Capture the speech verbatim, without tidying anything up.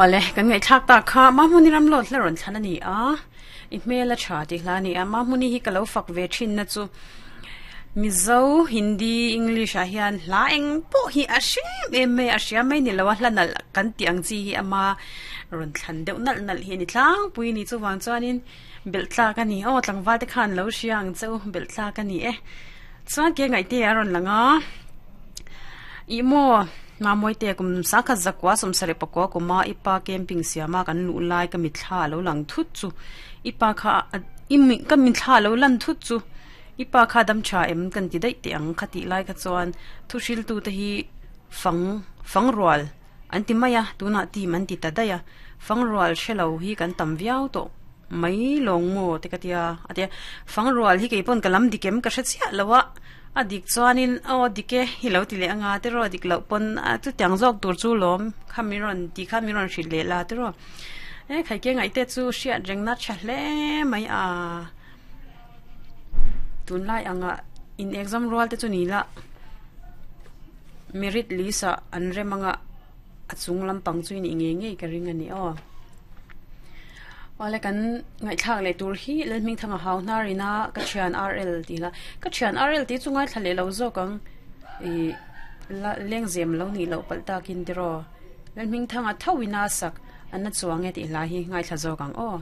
Ole kan ngai thak ta kha ma hmuni ram lot hleron thlan ani a i hmela tha ti hla ni a ma hmuni hi kalo fak ve thin na chu Mizo Hindi English a hian hla eng pawh hi a hrem em mai a hria mai ni lo a hla nalh kan tih ang chi hi ama rawn thlan deuh nalh nalh hi a ni tlangpui ni chuwang chuanin belh tlak a ni aw tlangval te khan lo hria ang cheu belh tlak a ni e chuan ke ngaih te a rawn lang a ih maw mamawii te kum sangkhat zakua sawmsarih pakua kuma ipa camping siama kan luh lai ka mithla lo lang thut chu ipa kha imi ka mithla lo lan thut chu ipa kha dam tha em kan ti daih teh ang kha tih lai kha chuan thu hril tu te hi fang fang rual an ti mai a tunah team an ti ta daih a fang rual hrelo hi kan tam viau tawh mai lawng maw te ka tia a tia fang rual hi keipawn ka lam dik em ka hre chiah lo a a dik chuanin aw dik e hi lo ti leh anga te rawh dik loh pawn a chutiang zawk tur chu lawm kha mi rawn tih kha mi rawn hrilh leh la te rawh e khaike ngaih te chu hriat reng na tha hle mai a tunlai anga in exam rual te chu ni la merit list ah an rem anga a chung lampang chu in ngei ngei ka ring ani aw awle kan ngaihthlak leh tur hi lalhming thanga hau hnar ina ka thian R L tih la ka thian R L tih chu ngaithla leh lo zawk ang ih la lengzem lo nih loh palh takin tiraw lalhming thanga tho ina sak an na chuang e tih hla hi ngaithla zawk ang aw.